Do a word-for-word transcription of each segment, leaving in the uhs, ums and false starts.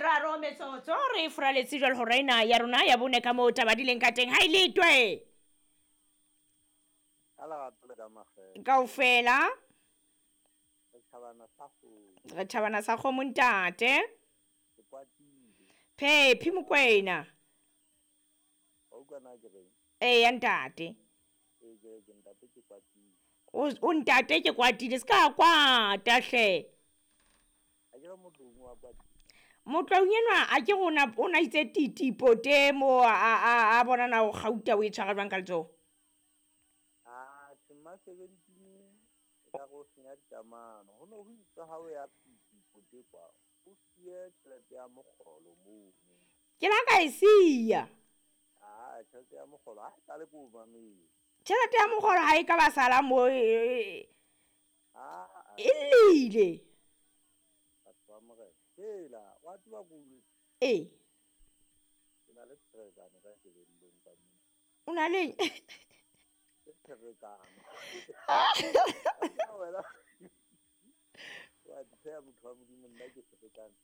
meraro metsotso re furaletse jwale hora ena ya rona ya bone ka moo taba di leng ka teng ha e letwe. Ka lerato le ka makgethe. Kaofela. Re thabana sa kgomo. Re thabana sa kgomo ntate. Ke kwatile. Phephi Mokwena. Wa utlwa na ke reng? Eya ntate. Ee, ke ke ntate ke kwatile. O o ntate ke kwatile se ka kwata hle. Ha ke re Motloung wa kwatile. Motloung enwa a ke rona o na itse titi pote mo a a a bona na o kgauta o e tshwara jwang ka letsoho. Ah, tjhe, seventeen e ka go senya dikamano. Ho no ho itswe ha o ya titi pote kwa, o siye tjhelete ya mokgolo mono. Ke la ka e siya. Ah, tjhelete ya mokgolo ha e sale ko o mametse. Tjhelete ya mokgolo ha e ka ba sala mo e Ah, e llile. Batho ba morena. Hela, wa tseba ko o Ee. Ke na le pherekano ka kelellong ka mona. O na le Ke pherekano. Wena. Wa di tsheha motho wa Modimo, nna ke ferekane.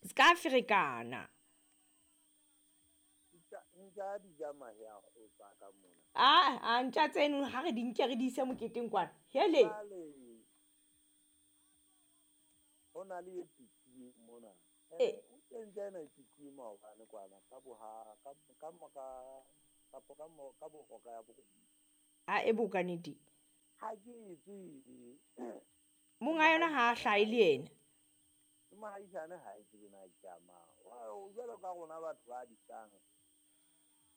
Se ka ferekana. Ntja ntja di ja mahe a kgotsa ka mona. Ah, a ntja tseno ha re di nke re di ise moketeng kwana. Hele. Jwale ho na le e pitsuweng mona. Eh. O teng ntja ena e pitsuwe maobane kwana ka boha ka ka mora kapo ka mo ka bohora ya borobedi. A e boka nnete. Ha ke e tsebe. Monga yona ha a hlahe le yena. Mohaisane ha e tsebe na ke a mang. Wa jwalo ka rona batho ba disang.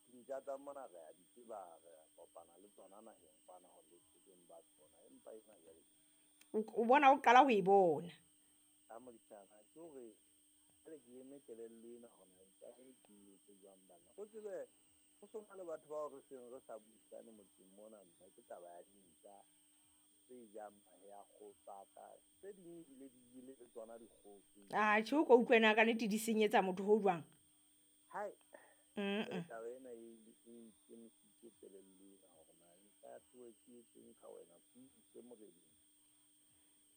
Dintja tsa mona re a di tseba, re a kopana le tsona naheng kwana ho le teng ba tsona, empa ena jwale. O bona o qala ho e bona. Ka modisana ke hore jwale ke eme kelello ena hona ntja e ke etse jwang bana. O tsebe ho so na le batho bao re seng re sa buisane motseng mona, mme ke taba ya dintja tse jang mahe a kgotsaka, tse ding ebile di jele le tsona dikgoho. Ah, tjhe o ko utlwe na ka nnete di senyetsa motho ho jwang? Hai. Mm. Taba ena e e kemisitse kelello ena hore na nka tlohe ke etseng ka wena, ke ise moreneng.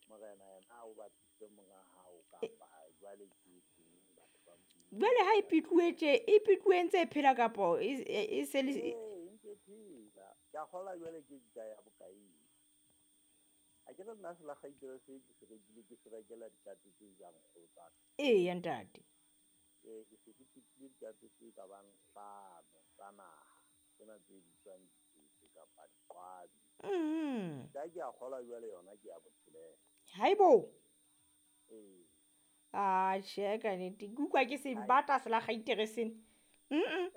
Morena yena o batlise monga hao kapa jwale ke etseng batho ba Modimo. Jwale ha e pitluwe tje, e pitluwe ntse e phela kapo e e se le Ee, ntse e phela. Ke a kgolwa jwale ke ntja ya bokae. Ha ke re nna selakgaitere se ke se rekile ke se rekela dikatse tse jang kgoho tsa ka. Eya ntate. Ee, ke se ke fetile dikatse tse ka bang hlano tsa naha, tsena tse bitswang ditsetse kapa diqwabi. Mm. Ka ke a kgolwa jwale yona ke ya botshelela. Haibo. Ee. Ah, tjhe ka nnete. Ke utlwa ke se batla selakgaitere sena. Mm.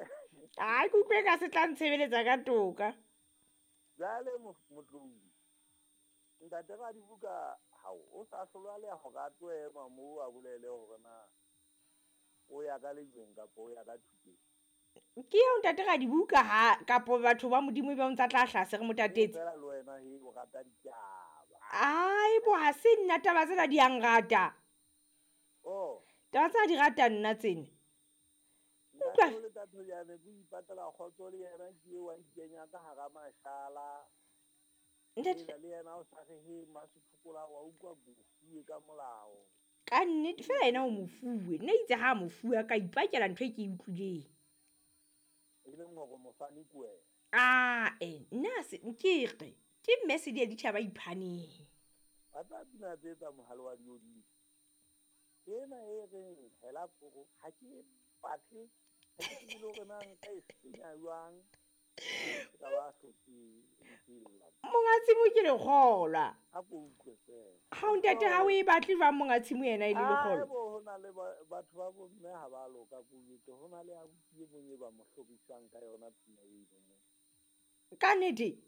Ah, ke utlwe ka se tla ntshebeletsa ka toka. Jwale Motloung, ntate Radibuka hao o sa hlolwa le hore a tlo ema moo a bolele hore na o ya ka lejweng kapa o ya ka thupeng. Ke eo ntate Radibuka ha kapo batho ba Modimo ba ntsa tla hlase re motatetse. Feela le wena he o rata ditaba. Ai bo ha se nna taba tsena di a nrata. Oh. Taba tsena di rata nna tsena. Utlwa. Ntate le Thathojane ke ipatela kgotso le yena ke eo a ikenya ka hara mashala. Ntate le yena o sa re he Masephokola wa utlwa bofuwe ka molao. Ka nnete fela yena o mofuwe. Nna itse ha mofuwe a ka ipakela ntho e ke e utlwileng. E leng hore mofani ke wena. Ah, eh, nna se ke re ke mme se di ditjhaba iphaneng. Ba tla pina tse tsa mohale wa dioding. Ena e reng hela poro ha ke batle, ha ke tsebe le hore na nka e senya jwang. Ka ba hlotse ntho. Monga tshimo ke lekgolwa. Ha ko utlwe feela. Ha o ntate ha o e batle jwang monga tshimo yena e le lekgolwa? Ah, bo ho na le batho ba bo mme ha ba loka ko jwetse. Ho na le abuti e mong e ba mo hlorisang ka yona pina eno mo. Ka nnete?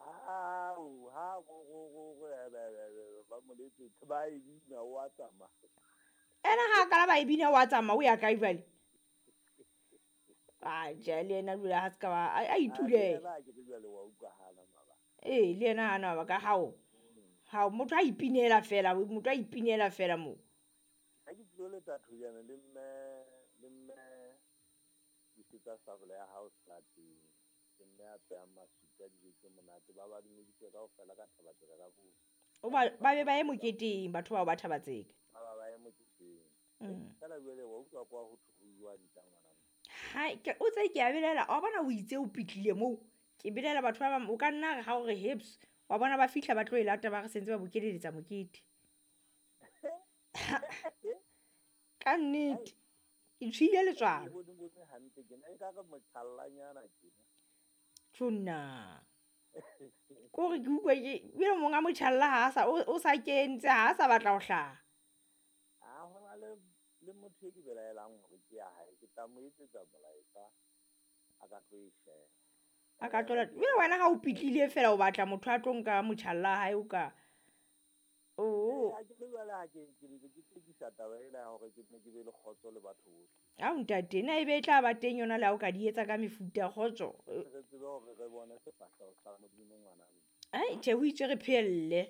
Ao, ha go go go go ba mo letsetse ba e bina o a tsamaya. Ena ha kala ba e bina o a tsamaya o ya kae jwale? Ah, tjhe le yena jwale ha se ka ba a itulele. Ah, ke jwale wa utlwahala mabaka. Ee, le yena hana mabaka hao. Hao motho a ipinela fela, motho a ipinela fela moo. Ha ke tlilo le Thathojane le mme le mme disetsa sabole ya hao seterateng. Ke mme a phehang masupi a dijo tse monate, ba ba dumedise kaofela ka Thabatseka ka bo. O ba ba be ba ye moketeng batho bao ba Thabatseka. Ba ba ba ye moketeng. Mm. Feela jwale wa utlwa kwa ho thwe ho jwa ntja ngwana. Hai, ke o tse ke a belela wa bona o itse o pitlile moo. Ke belela batho ba bang o ka nna re ha o re heps wa bona ba fihla ba tlo e lata ba re sentse ba bokeleletsa mokete. Ka nnete. Ke tshohile Ke letswalo. bone bone hantle tjena ekare motjhallanyana tjena. Tjonna. Kore ke utlwe ke ebile monga motjhalla ha a sa o o sa kentse ha a sa batla ho hlaha. Ha hona le le motho e ke belaelang hore ke ya hae, ke tla mo etsetsa molaetsa a ka tlo e sheba. A ka tlola ebile wena ha o pitlile feela o batla motho a tlo nka motjhalla wa hae o ka Ee, o ha ke le jwale ha ke ke ntse ke tsekisa taba ena ya hore ke nne ke be le kgotso le batho bohle. Ao ntate na ebe e tla ba teng yona le ha o ka di etsa ka mefuta kgotso. Re tsebe hore re bone sefahleho sa Modimo ngwana mme. Ai tjhe ho itswe re phehelle.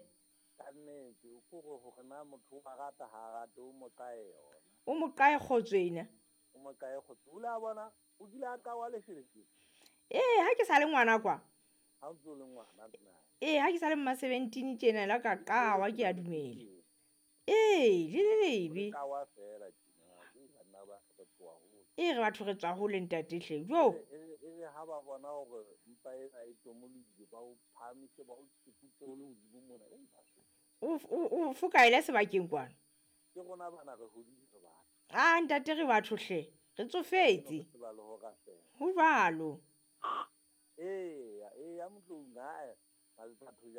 Ka nnete o kore hore na motho o a rata ha a rate o mo qae yona. O mo qae kgotso ena. O mo qae kgotso. O ile a bona o kile a qawa lesheleshele. Ee ha ke sa le ngwana kwa. Ha o ntso le ngwana nna. Ee ha ke sa le mma seventeen tjena la ka qawa ke a dumela. Ee le le lebe. Qawa feela tjena. Ke banna ba re tloha hole. Ee re batho re tswa hole ntate hle. Jo. E e re ha ba bona hore mpa ena e tomolohile ba o phahamise ba o tsukutse o le hodimo mona. Ei batho. O o o fokaele sebakeng kwana. Ke rona bana re hodile re batho. Ah ntate re batho hle. Re tsofetse. Re tseba le ho rapela. Ho jwalo. Eya, eya Motloung hae batho